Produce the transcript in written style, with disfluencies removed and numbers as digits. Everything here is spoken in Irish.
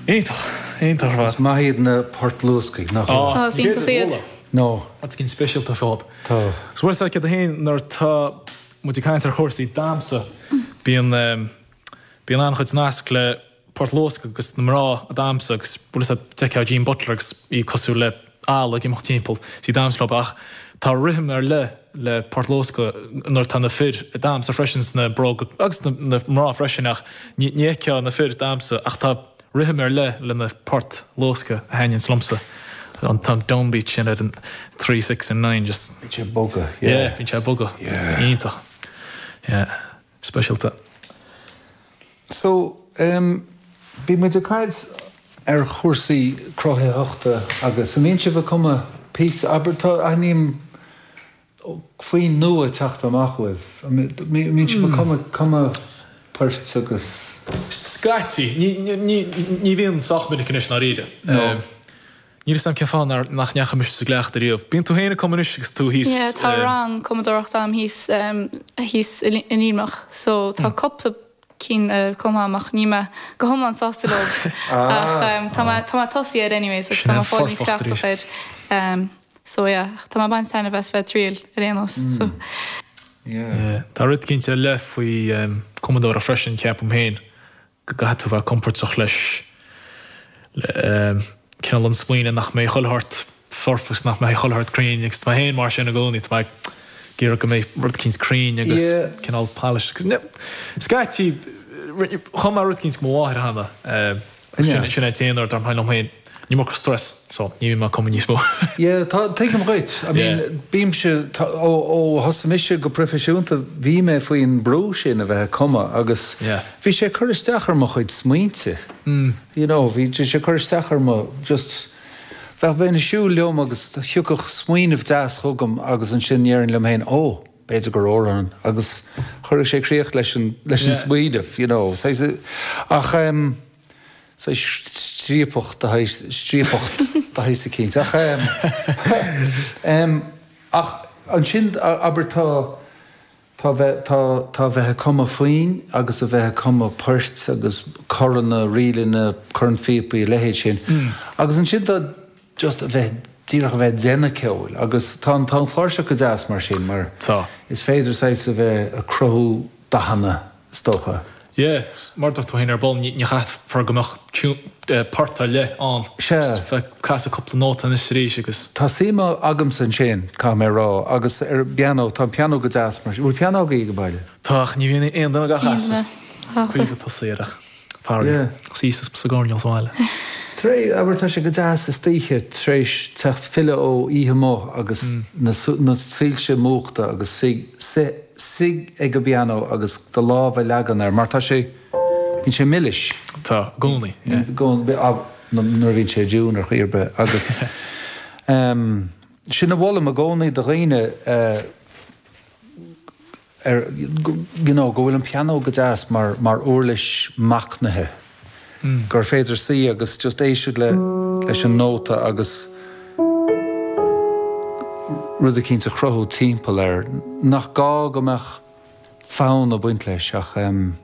Iontach, iontach ar fad. Is maith iad na poirt luasctha, nach bhfuil? Á, is iontach iad. No. Rud éicint speisialta fúthu. Tá. So bhfuil a fhios agat féin nuair atá muid ag caint ar chúrsaí damhsa, bíonn, bíonn an-chuid nasc le port luasctha agus na mná ag damhsa agus bhfuil a fhios agat, d'fheicfeá Jean Butler agus í cosúil le eala ag imeacht timpeall is í ag damhsa leo ach tá rithim ar leith le port luasctha nuair atá na fir ag damhsa freisin sna bróga agus na mná freisin ach ní fheicfeá na fir ag damhsa ach tá rithim ar leith le na port luasctha a thaitníonns liomsa. An t-an downbeat sin ar an 3, 6 and 9 just. Bíonn sé ag bogadh, yeah. Yeah, bíonn sé ag bogadh. Yeah. Iontach. Yeah. Speisialta. So, em, bhí muid ag caint ar chúrsaí cruthaitheachta agus an mbíonn sibh ag cumadh píosa, abair, tá, aithním foinn nua ag teacht amach uaibh. An mbíonn sibh ag cumadh, cumadh poirt agus. Scaití. Ní, ní, ní bhíonn sách minic anois i ndáiríre. No. Níl 'fhios a'm cén fáth nár, nach ndeachaigh mise sa gcleachtadh riamh. Bíonn tú féin ag cumadh anois agus tú thíos Yeah, tá rang cumadóireachta a'm thíos, thíos i Luimneach so tá cúpla cinn cumtha a'm ach níl mé go hiomlán sásta leo. Ach tá mé, tá mé ag tosaí air anyways agus tá mé ag fáil níos cleachtach air. So yeah, tá mé ag baint taitneamh as bheith ag triail ar aon nós so. Yeah. Tá rud eicínt ar leith faoi cumadóireacht freisin ceapaim féin. go gcaithfidh tú bheith compordach leis, le cineál an smaoineamh nach mbeidh chuile shórt foirfe agus nach mbeidh chuile shórt cruinn agus tá mé féin mar sin i gcónaí, tá mé ag iarraidh go mbeidh rud eicínt cruinn agus cineál polished agus scaití chum mé rud eicínt do mo mháthair cheana, sin é an t-aon uair dar liom féin. An iomarca stress so ní bhíonn mé ag cumadh níos mó. Yeah, tá, tuigim dhuit. I mean, bímse, tá, ó, ó thosaigh mise go proifisiúnta bhí mé faoin brú sin a bheith ag cumadh agus bhí sé ag cur isteach ar mo chuid smaointe. You know, bhí sé ag cur isteach ar mo, just, bheadh, bheinn ag siúl liom agus thiocfadh smaoineamh deas chugam agus ansin déarfainn liom féin, oh, b'fhéidir gur amhrán agus chuirfeadh sé críoch leis an, leis an smaoineamh, you know. Saghas, ach em. saghas striapach de shaghas, striapacht de shaghas eicínt. Ach em, ach ansin abair tá, tá bheith, tá, tá bheith ag cumadh foinn agus a bheith ag cumadh poirt agus coranna, ríleanna, cornphíopaí, a leithéid sin. Agus ansin tá just a bheith, díreach a bheith ag déanamh ceoil agus tá an, tá an chláirseach go deas mar sin mar Tá. is féidir saghas a bheith ag cruthú dathanna is dócha. Yeah, mar a dúirt tú féin ar ball, ní chaithfear go mbeadh port ar leith ann. Sea. Just bheith ag casadh cúpla nóta anois is arís agus. Tá suim agamsa ansin, caithfidh mé a rá, agus ar an bpianó, tá an pianó go deas mar sin. Bhfuil pianó agaibh ag baile? Tá, ach ní bhíonn aon duine á chasadh. Caoimhe tosaí air ach faraor, Yeah. thíos sa gcoirnéal sa bhaile. Tar éis, abair, tá sé go deas istoíche tar éis teacht filleadh ó oíche amuigh agus na soilse múchta agus suigh, suigh, Suigh ag an bpianó agus do lámh a leagan air, mar tá sé, bíonn sé milis. Tá, i gcónaí, yeah. I gcónaí, nuair a bhíonn sé i dtiún ar chaoi ar bith. Agus sin a mholaim i gcónaí do dhaoine, ar, you know, go bhfuil an pianó go deas mar, mar uirlis machnaithe. Gur féidir suí agus just éisteacht le, leis an nóta agus rud eicínt a chruthú timpeall air. Nach gá go mbeadh fonn ag baint leis ach em.